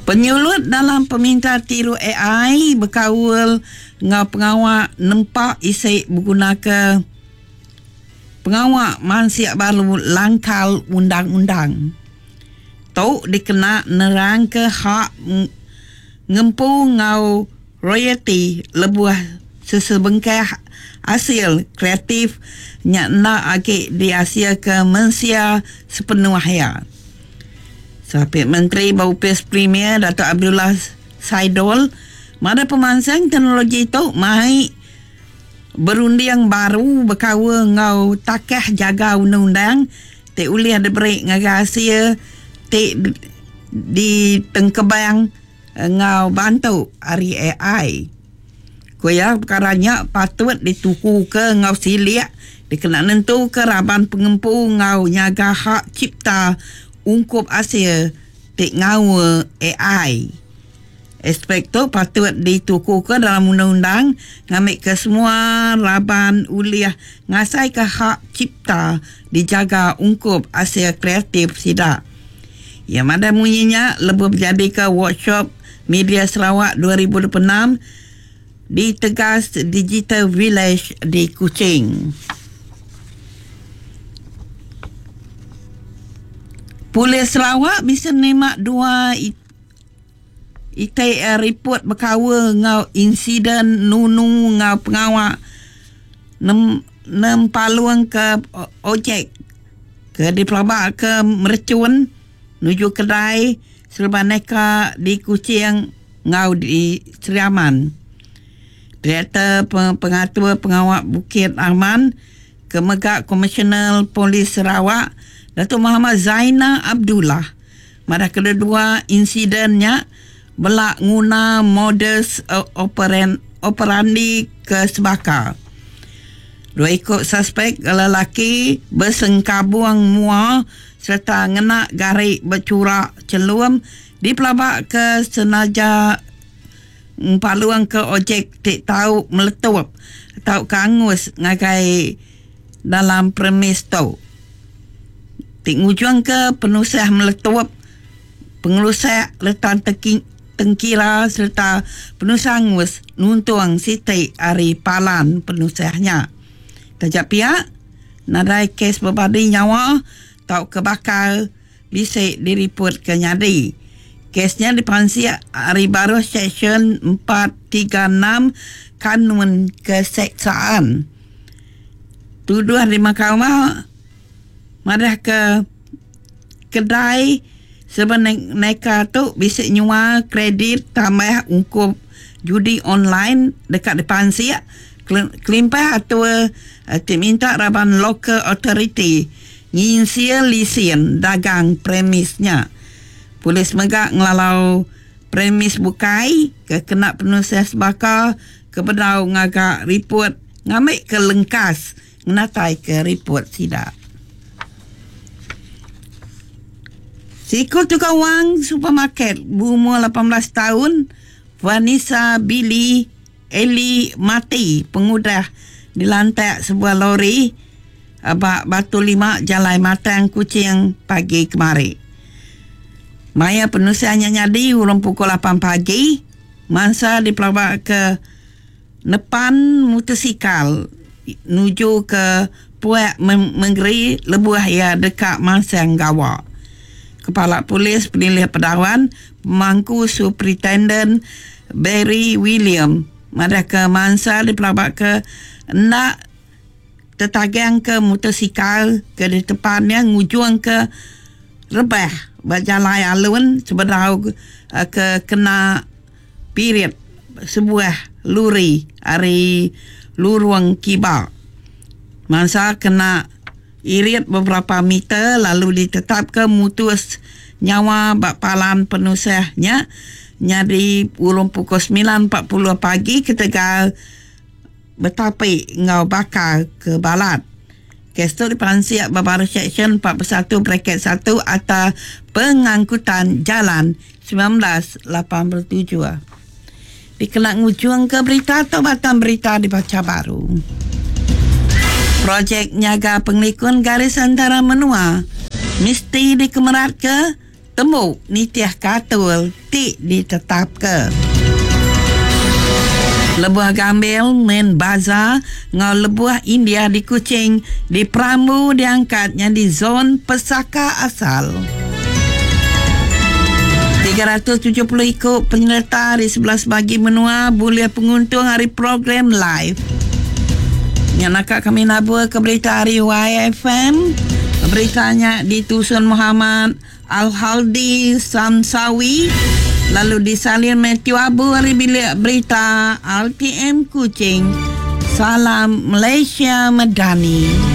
Penyulut dalam pemintar tiru ai bekaul enggau pengawa nempa isi begunaka pengawa mansik baru langkal undang-undang. Tu dikena nerangka hak ngempu enggau royalti lebuh sesebengkah asil kreatif nya enda agi diasilka mensia sepenuh iya. Sapit Menteri ba Opis Premier Datuk Abdullah Saidol madah pemansang teknologi tu mai berunding baru bekaul enggau takah jaga undang-undang ti ulih diberi ngagai asil ti ditengkebang enggau bantu ari ai. Ku iya, pekara nya patut ditukuka enggau silik dikena nentuka raban pengempu enggau nyaga hak cipta ungkup asil ti ngaul ai. Aspek tu patut ditukuka dalam undang-undang ngambika semua raban ulih ngasaika hak cipta dijaga ungkup asil kreatif sida. Iya madah munyi nya lebuh bejadika Workshop Media Sarawak 2026 di Tegas Digital Village di Kuching. Polis Sarawak bisi nerima dua iti riput bekaul enggau insiden nunu enggau pengawa nempalungka ojek ke dipelabaka merechun nuju kedai Serba neka di Kuching enggau di Sri Aman. Direktor Pengatur Pengawa Bukit Aman ke mega Komisioner Polis Sarawak Datuk Mohamad Zainal Abdullah madah kededua insiden nya bela nguna modus operandi ke sebaka. Dua iku suspek lelaki besengkabung mua sereta ngena gari bechura chelum dipelabaka senaja ngempalungka ojek ti tau meletup tauka angus ngagai dalam premis tu ti ngujungka penusah meletup, pengerusak reta tengkira sereta penusah angus nuntung siti ari palan penusah nya. Taja pia, Nadai kes bebadi nyawa tauka bakal bisi diripotka nyadi. Kes nya dipansik ari baruh Seksyen 436 Kanun Keseksaan. Tuduh di mahkamah madahka kedai sebeneka tu bisi nyual kredit tambah ungkup judi online deka dipansik kelimpah atur ti minta raban local authority nginsil lisin dagang premis nya. Polis mega ngelalau premis bukai ke kena penusah sebaka ke bedau ngaga riput ngambika lengkas ngenataika riput sida. Siku tukang wang supermarket beumur 18 taun, Vanessa Billy Ellie mati pengudah dilantak sebuah lori ba Batu Lima Jalai Matang Kuching pagi kemari. Maya penusah nya nyadi urung pukul lapan pagi, mansa dipelabaka Nepan mutosikal nuju ke puak mengeri lebuh iya deka mansang gawa. Kepala Polis Penilih Pedawan, Pemangku Superintenden Barry William madahka mansa dipelabaka enda tetagangka mutosikal ke ditepan iya ngujungka rebah ba jalai alun sebedau ke kena pirit sebuah luri ari lurung kiba. Mansa kena irit beberapa meter lalu ditetapka mutus nyawa ba palan penusah nya nyadi urung pukul 9.40 pagi ketegal betapi enggau bakal ke balat. Kes tu dipansik ba baruh Seksyen 41 Braket 1 Akta Pengangkutan Jalan 1987. Dikena ngujungka berita tu batang berita dibacha baru. Projek nyaga pengelikun garis antara menua mesti dikemeratka. tembu nitihka atur ti ditetapka. Lebuh Gambil, Main Bazaar enggau Lebuh India di Kuching diperambu diangkat nyadi zon pesaka asal. 370 iku penyereta ari 11 bagi menua bulih penguntung ari program live. Nya naka kami nabur ke berita ari YFM. Berita nya ditusun Muhammad Al-Haldi Samsawi lalu disalin Matthew Abu ari bilik berita RTM Kuching. Salam Malaysia Medani.